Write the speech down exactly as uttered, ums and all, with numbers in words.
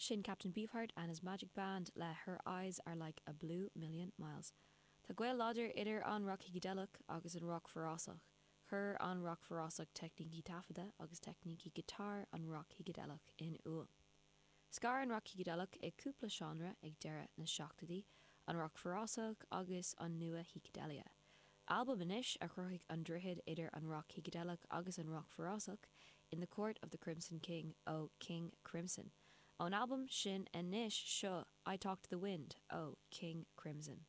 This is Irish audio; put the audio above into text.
Sin Captain Beefheart and his Magic Band le Her Eyes Are Like a Blue Million Miles. Tá gaol láidir idir an roc shícideileach agus an roc forásach. Chuir an roc forásach teicnící taifeadta agus teicnící giotár an roc shícideileach in iúl. Scar an roc shícideileach i cúpla seánra ag deireadh na seachtóidí, an roc forásach agus an nua-shícideilia. Albam anois a chruthaigh an droichead idir an roc shícideileach agus an roc forásach in the Court of the Crimson King ó King Crimson. Ón albam sin anois seo I Talk to the Wind ó King Crimson.